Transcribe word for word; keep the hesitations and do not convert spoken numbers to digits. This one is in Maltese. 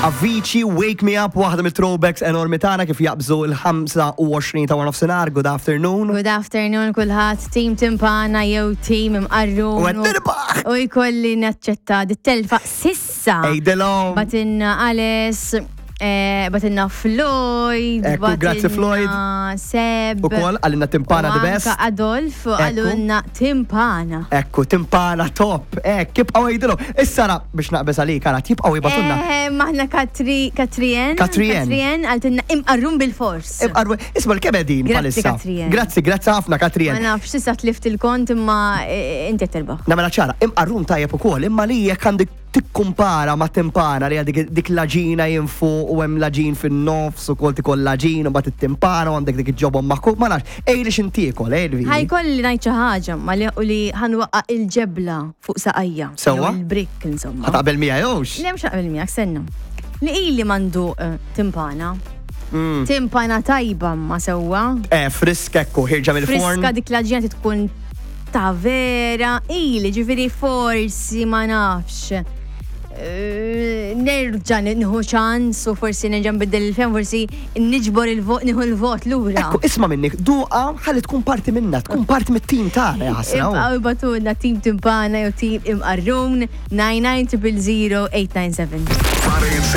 Avicii, Wake Me Up, waħda mit-throwbacks enormi tagħna kif jaqbżu il-ħamsa u għoxrin ta' nofsinhar. Good afternoon. Good afternoon kulħadd, team Timpana jew team Imqarrun. U qed nirbaħ! U jkolli naċċetta dit-telfa s'issa. Ejdilhom. Bagħtilna Ales, eh, bagħtilna Floyd, Ekku, grazzi, Floyd. Seb. Ukoll għalina Timpana u the best. anka Adolf Ekku. għalunna Timpana. Ekku, Timpana top. Ek, kibqaw għidilhom. Issa ra, biex naqbeż għalik, għara, tibqaw jibagħtulna. Eh, Maħna Katri, Katrien. Katrien. Katrien għaltinna Imqarrun bil-fors. Imqarru, isma l-kebedin Grazzi, palissa. Katrien. Grazzi, grazzi ħafna, Ma Katrien. nafx, s'issa tlift il-kont imma eh, inti qed terbaħ. Nagħmilha ċara, Imqarrun tajjeb ukoll, imma li jekk għandek tikkumpara ma' timpana li għadik dik l-għaġina jinfu u hemm l-għaġin fin-nofs u kol tikol l-għaġin u mbagħad it-timpana u għandek dik iġobhom maħkuk, ma nafx, ej li x'intiekol, ej li. Ħa jkolli ngħid xi ħaġa ma li u li ħa nwaqqa' il-ġebla fuq saqajja. Sewwa? Jew il-brick insomma. Ħa taqbel miegħi jewx? Le, mhux naqbel miegħek, senna. Li ili mandu eh, timpana. Mm. Timpana tajba ma sewwa. Eh, friska ekku, ħierġa mill-forn. Friska, dik l-għaġina tkun ta' vera. Ili ġifieri forsi ma nafx. Eh, Nerġa' nieħu ċans u forsi nerġa' nbiddel il-fehma, forsi niġbor il-vot, nieħu l-vot lura. Ekku, isma' minni, duqa ħalli tkun parti minna, tkun parti mit-tim tagħna, ja ħasra. Ibqaw ibagħtulna team Timpana jew team Imqarrun nine nine zero zero eight nine seven.